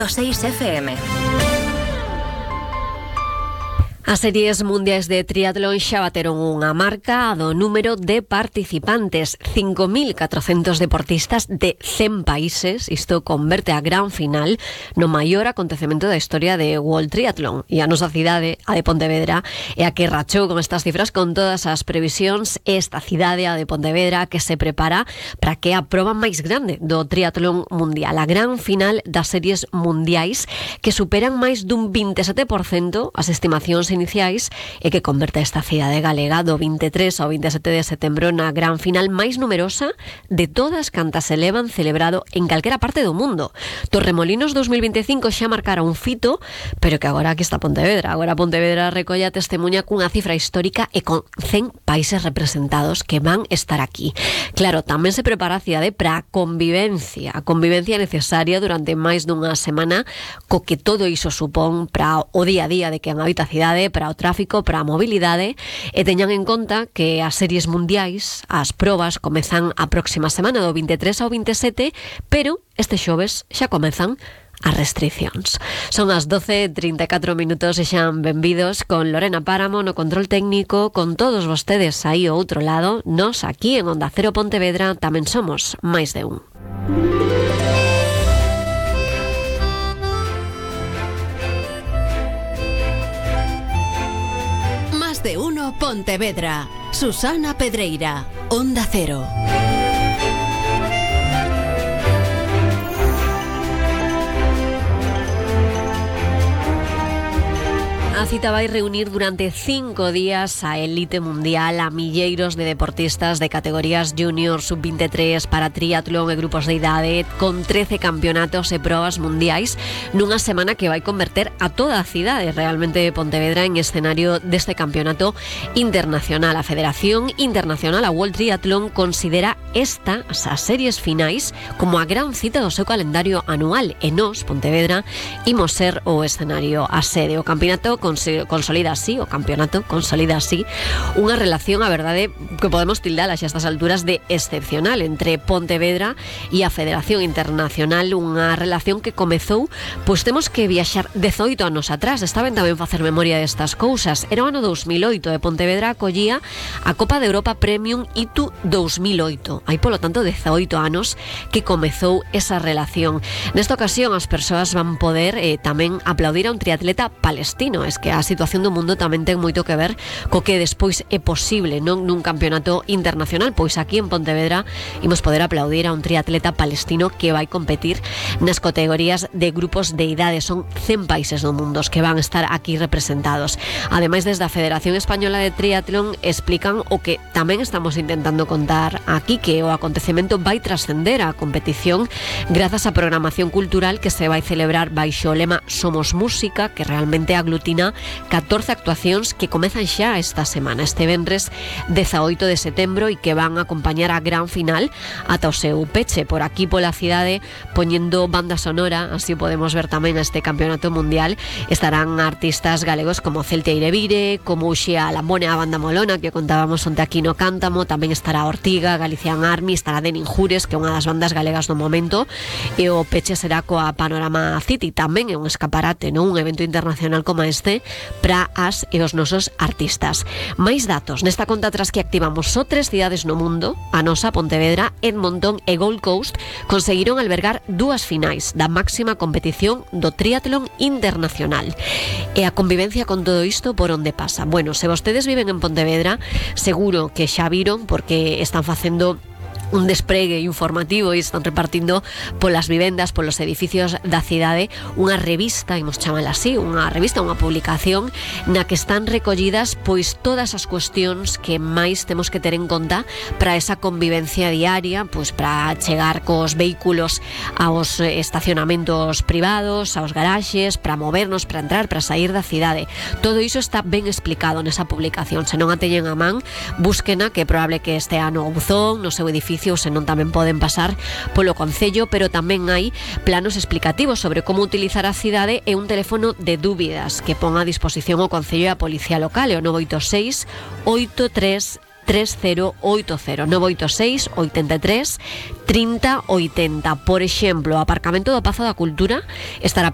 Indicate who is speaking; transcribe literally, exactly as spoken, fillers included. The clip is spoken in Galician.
Speaker 1: seis F M.
Speaker 2: As series mundiais de triatlón xa bateron unha marca do número de participantes, cinco mil catrocentos deportistas de cen países. Isto converte a gran final no maior acontecemento da historia de World Triathlon. E a nosa cidade, a de Pontevedra, é a que rachou con estas cifras con todas as previsións. Esta cidade, a de Pontevedra, que se prepara para que a proba máis grande do triatlón mundial, a gran final das series mundiais, que superan máis dun veintisiete por cento as estimacións iniciais e que converte esta cidade galega do veintitrés ao veintisiete de setembro na gran final máis numerosa de todas cantas se levan celebrado en calquera parte do mundo. Torremolinos dos mil veinticinco xa marcara un fito, pero que agora aquí está Pontevedra. Agora Pontevedra recolle a testemunha cunha cifra histórica e con cen países representados que van estar aquí. Claro, tamén se prepara a cidade para a convivencia, a convivencia necesaria durante máis dunha semana, co que todo iso supón para o día a día de quen habita a cidade, para o tráfico, para a mobilidade, e teñan en conta que as series mundiais, as probas, comezan a próxima semana do veintitrés ao veintisiete, pero este xoves xa comezan as restriccións. Son as doce e trinta e catro minutos e xan benvidos con Lorena Páramo no control técnico, con todos vostedes aí ao outro lado. Nos aquí en Onda Cero Pontevedra tamén somos máis de un.
Speaker 1: De uno Pontevedra. Susana Pedreira, Onda Cero.
Speaker 2: A cita vai reunir durante cinco días a elite mundial, a milleiros de deportistas de categorías junior, sub veintitrés, para triatlón e grupos de idade, con trece campeonatos e probas mundiais, nunha semana que vai converter a toda a cidade realmente de Pontevedra en escenario deste campeonato internacional. A Federación Internacional, a World Triathlon, considera estas as series finais como a gran cita do seu calendario anual, e nós, Pontevedra, imos ser o escenario, a sede. O campeonato consolida así, o campeonato consolida así unha relación, a verdade, que podemos tildar a estas alturas de excepcional entre Pontevedra e a Federación Internacional, unha relación que comezou, pois temos que viaxar dezoito anos atrás. Está ben tamén facer memoria destas cousas. Era o ano dous mil oito e Pontevedra acollía a Copa de Europa Premium I T U dous mil oito. Hai, polo tanto, dezoito anos que comezou esa relación. Nesta ocasión as persoas van poder eh, tamén aplaudir a un triatleta palestino. Es que a situación do mundo tamén ten moito que ver co que despois é posible, non nun campeonato internacional. Pois aquí en Pontevedra imos poder aplaudir a un triatleta palestino que vai competir nas categorías de grupos de idade. Son cen países do mundo os que van estar aquí representados. Ademais, desde a Federación Española de Triatlón explican o que tamén estamos intentando contar aquí, que o acontecemento vai trascender a competición grazas á programación cultural que se vai celebrar baixo o lema Somos Música, que realmente aglutina catorce actuacións que comezan xa esta semana, este venres dezaoito de setembro, e que van a acompañar a gran final ata o seu peche por aquí pola cidade, poñendo banda sonora. Así podemos ver tamén este campeonato mundial. Estarán artistas galegos como Celte Eirevire, como Uxía Lambone, a banda molona que contábamos onte aquí no Cántamo. Tamén estará Ortiga, Galician Army, estará Denin Jures, que é unha das bandas galegas do momento, e o peche será coa Panorama City. Tamén é un escaparate, non? Un evento internacional como este para as e os nosos artistas. Máis datos nesta conta atrás que activamos. Só tres cidades no mundo, a nosa Pontevedra, Edmonton e Gold Coast, conseguiron albergar dúas finais da máxima competición do triatlón internacional. E a convivencia con todo isto por onde pasa? Bueno, se vostedes viven en Pontevedra, seguro que xa viron, porque están facendo un despregue informativo e están repartindo polas vivendas, polos edificios da cidade, unha revista, imos chamala así, unha revista, unha publicación na que están recollidas pois todas as cuestións que máis temos que ter en conta para esa convivencia diaria, pois para chegar cos vehículos aos estacionamentos privados, aos garaxes, para movernos, para entrar, para sair da cidade. Todo iso está ben explicado nesa publicación. Se non a teñen a man, búsquena, que é probable que este ano o buzón no seu edificio, senón tamén poden pasar polo concello, pero tamén hai planos explicativos sobre como utilizar a cidade e un teléfono de dúbidas que pon a disposición o concello e a policía local, e o nove oito seis oito tres tres cero oito cero, nove oito seis oitenta e tres trinta oitenta. Por exemplo, o aparcamento do Pazo da Cultura estará